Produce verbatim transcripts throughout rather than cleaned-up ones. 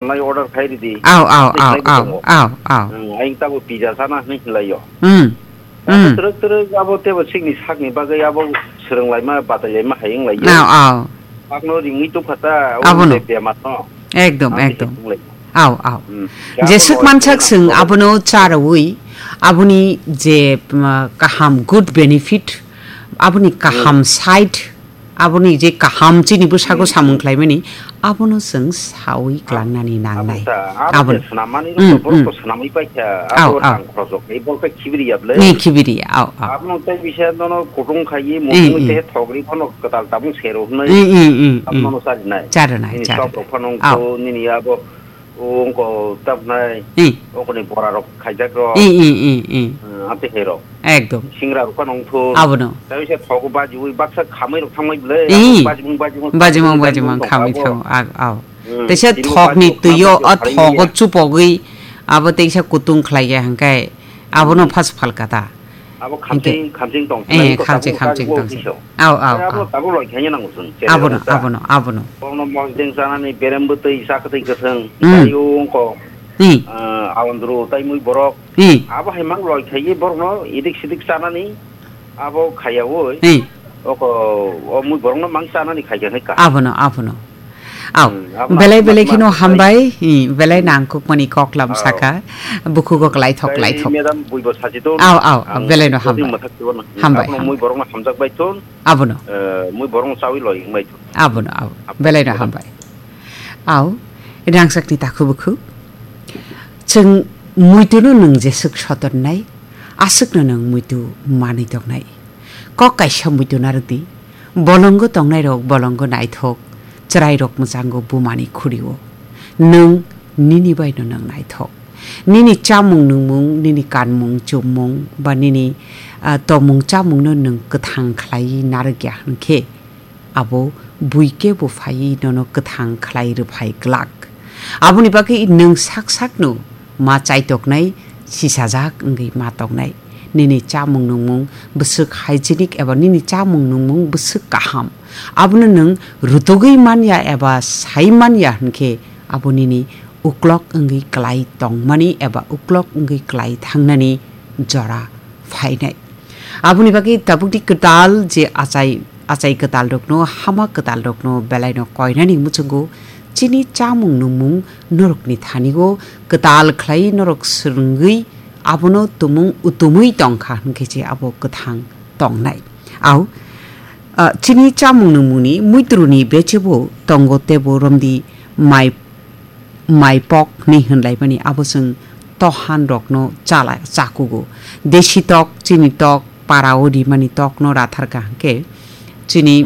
Lai order khai ridi. Aw, aw, Tei aw, khai aw, tongo. Aw, aw. Hmm, ayang tabo pizza sana hinwi hinlaio. Hmm. Abo Hmm. twrwk twrwk abo tebo sikni sakni bagwi abo swrwnglaima, batailaima hai wnglaio. Aw, aw. Pakno ringwi tubkha ta, o Abono. Bemar no. Ekdom, Ang ekdom. Hinlai. Aw, aw. Hmm. Jeswk Abo mansak loi swng hinang abono charawi, aboni je, um, kaham, good benefit, aboni kaham Hmm. side, aboni je kaham chini bwsako Hmm, samung hmm. khlaimani, abono chwng sawi Ah, klangnani abo nangnai. sa, abo Abon. je swnamani rok Hmm, to borok hmm. to swnamwi paikha, Aw, abo aw. rang khorok rok, ei borok khe khibiri ya ble. Ni khibiri, aw, aw. Abono tei bisa nono kutung khaiwi, Hmm, mutung hmm. tei thogri phano kwtal tabung sero hwnwi Hmm, hmm, hmm, hmm. abono charinai. Charinai, Nini charinai. Chop rok phano Aw. wngkho, nini abo wngkho tabnai, Hmm. wngkho ni bora rok khaijak rok. Hmm, hmm, hmm, hmm. Hmm, amtwi hai rok. Ekdom. Singra rok phano wngthun. Abono. Tei se thogo bajiwi baksa khamwi rok thangmai ble, Ih. abo bajimung, bajimung, Bajimung, bajimung, bajimung, khamwi abo. Thang, ag-, aw. Hmm, Teisa tini bo thokni bajimung, twiyo, bajimung o khalai thogo ya. Chupogwi, abo teisa kutung khlai ya hwnkhe, abono Hmm. phas phalka ta. Abo Hwnkhe, khamching, khamching tong eh, khlai ko khamching, tabuk khamching kago tong se. Kiso. Aw, aw, Tei abo aw. tabuk loi khaina nango chwng, chereng Abono, ta. Abono, abono. Bono mosdeng chanani berem bwtwi, chakwtwi kwthwng, Hmm. tei o wngkho, Hmm. ah, awandru, tei mui borok. Hmm. Abo hai mang loi khaiwi borokno idik sidik chanani abo khaiyaui. Hmm. Oko, o mui borokno mang chanani khaikha khe kaham. Abono, abono. Aw, Hmm, abono belai, abono belai kheno abono hambai, hmm, belai Hmm. nangkukmani koklam Aw. saka, bukhugo klaithok, Tei klaithok. Madam buibo sachi ton. Aw, aw, aw, Ang belai no jodi hambai. Mathak tibo no. Hambai, Abono mui hambai. Borokno hamjak bai ton. Abono. Eh, mui borokno chawi loi wngbai ton. Abono, abono. Abono. Belai no Madam. Hambai. Aw, rangchakni takhu bukhu. Chwng muitu no nwng jeswk sotonnai, aswk no nwng muitu manwi tongnai. Kok kaisa muitu narwk di, bolongo tongnairok bolongo naithok, chwrairok mwchango bumani khurio. Nwng nini bai no nwng naithok. Nini chamung nungmung, nini kanmung chumung, ba nini, ah, tongmung chamungno nwng kwthang khlaiwi narwkya hwnkhe, abo bui kebo phaiwi nono kwthang khlai rwphai glak. Aboni bagwi nwng sak sakno ma chaitoknai, sisajak wngwi ma toknai. Nini chamung nungmung bwswk hygienic eba nini chamung nungmung bwswk kaham, abono nwng rutugwi manya eba sai manya hwnkhe, abo nini uklok wngwi klai tongmani eba uklok wngwi klai thangnani jora phainai. Aboni bagwi tabukni kwtal je achai, achai kwtalrokno, hama kwtalrokno belaino koinani muchungo chini chamung nungmung norokni thani-o kwtal khlai norok swrwngwi abono tumung utumwi tongkha hwnkhe je abo kwthang tongnai. Au, ah, chini chamung nungmungni muitruni bechebo tongo tebo romdi mai mai pok hinwi hwnlaimani abo chwng tohan rokno chala chakugo. Desi tok, chini tok, parao rimani tokno ratharkha hwnkhe chini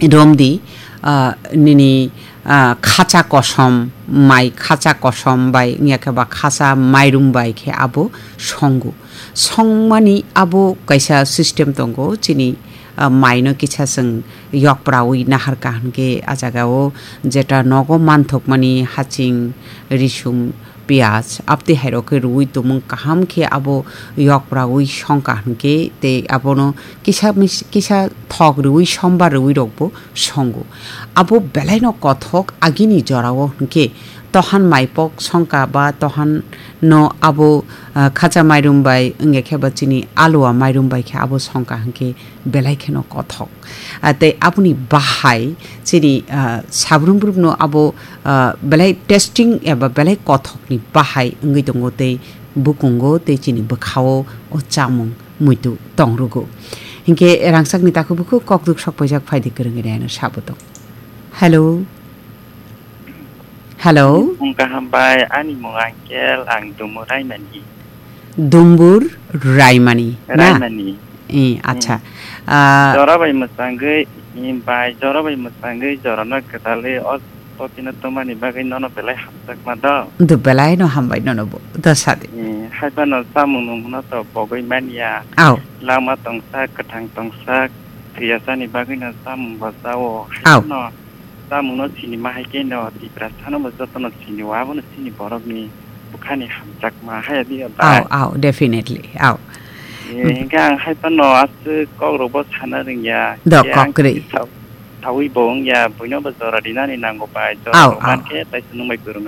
romdi, ah, nini, ah, khacha kosom, mai khacha kosom bai wngya khe ba khacha mairum bai khe abo songo. Songmani abo kaisa system tongo chini, ah, maino kisa chwng yokprawi naharkha hwnkhe, ah jagao jeta nogo manthokmani haching, risum, piyaj, abtwi hairok khe rwui tumung kaham khe abo yokprawi songkha hwnkhe, tei abono kisa mis-, kisa thok rwui sombar rwui rokbo songo. Abo belaino kothok agini jorao hwnkhe, tohan maipok songkha ba tohan no abo, ah, khacha mairum bai wngya khe ba chini alua mairum bai khe abo songkha hwnkhe, belai kheno kothok. Ah, tei aboni bahai chini, ah, sabrum brumno abo, ah, belai tasting eba belai kothokni bahai wngwi tongo tei bukungo tei chini bwkhao o chamung muitu tongrugo. Hinkhe rangchakni takhu bukhu kokduk sok paijak phaidi kwrwngwi rayano sabo tong. Hello. Hello. Ani mung kaham bai, ani mung Angkel, ang Dumbur Raimani. Dumbur Raimani, na? Raimani. Eh, acha. Hmm. Ah, jora bai mwchangwi, eh, bai, jora bai mwchangwi, jorano kwtalwi, o totino tongmani bagwi nono belai hamjakma do. Do belaino hambai nono bo, do sadi. Eh, hai phano chamung nungmungno to pogwi manya. Au. Lama tongsa, kwthang tongsa, thwiyasani bagwino chamung bo chao. Hai Au. Phano Chamungno sinima hai khe no Tiprasano bo jotono sinio, abono chini borokni bwkhani hamjakma haya di ya bai. Au, au, definitely, au. Eh, hingke ang hai phano aswk kokrokbo sana rwngya. Do, khe ang kokrwi. Tini sa-, Thawi bo wngya, buino bo jora rinani nango bai, jora Au, rok au. Mankhe, tai se nwng bai kwrwng